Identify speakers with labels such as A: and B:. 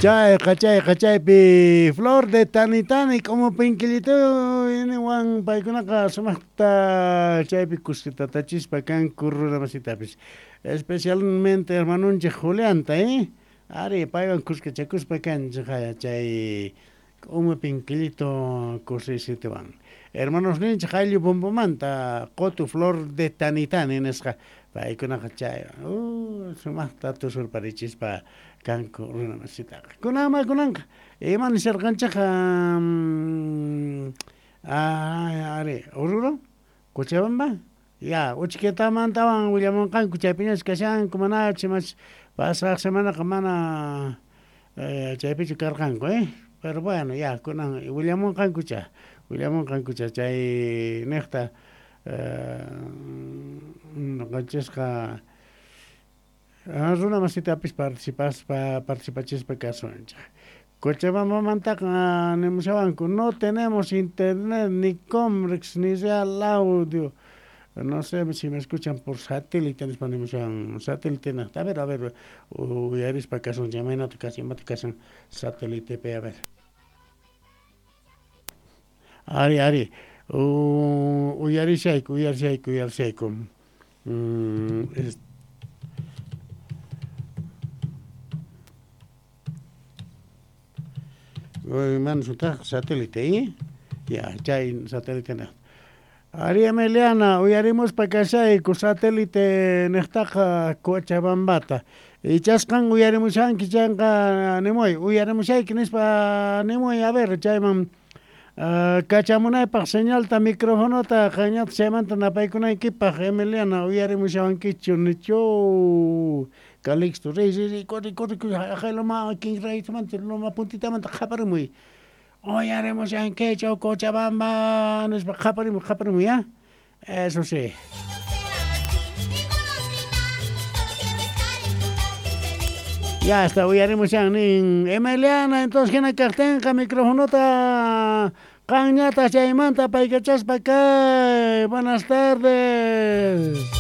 A: Chayqa chayqa chaypi Flor de Tanitani k'umu pinkillituywan paykunaqa sumaqta chaypi kusitatachispa kanku runa masitapis. Especialmente hermanunchik Julianta, eh? Ari, paywan kuskachakuspa kanchik chay k'umu pinkillito kusisituwan. Hermanosninchik ayllu bombomanta qotu Flor de Tanitani nisqa paykunaqa chay sumaqta tusurparichispa kanku runa masitaqa. Kunanma kunanqa ima nisharqanchikqa ari Oruro Cochabamba ya uchkitamantawan willamunqanku chaypiñas kashanku manachu mas pasaq semanaqa mana chaypichu karqanku eh pero bueno ya kunan willamunqankucha willamunqankucha chay niqta noqanchisqa runa masitapis participaspa participachispa kasunchik. Cochabambamantaqa nimushawanku no tenemos internet ni Comrex ni Real Audio. No sé si me escuchan por satélite nispa nimushawan satélite niqta. A ver, a ver, uyarispa kasunchik imaynata kashan imata kashan satélitepi a ver. Ari, ari, uyarishayku, uyarishayku, uyarishayku. Mana sutaq satélite, eh? Ya, chay satélite niqta. Ari Emiliana, uyarimuspa kashayku satélite niqtaqa Cochabambata. Ichasqan uyarimushanki chayqa nimuy, uyarimushayki nispa nimuy, a ver, chayman kachamunaypaq señalta microfonota qanñata chaymanta napaykunaykipaq Emiliana uyarimushawankichu nichu Calixto, riy, riy, riy, corre, corre, haqay loma kinraytamanta loma puntitamanta qhaparimuy. Uyarimushankichu Cochabamba nispa qhaparimuy, qhaparimuy, ya. Eso sí. Ya está, uyarimushan nin Emiliana, entonces hina kaqtinqa microfonota qanñata chaymanta paykachaspa kay. Buenas tardes.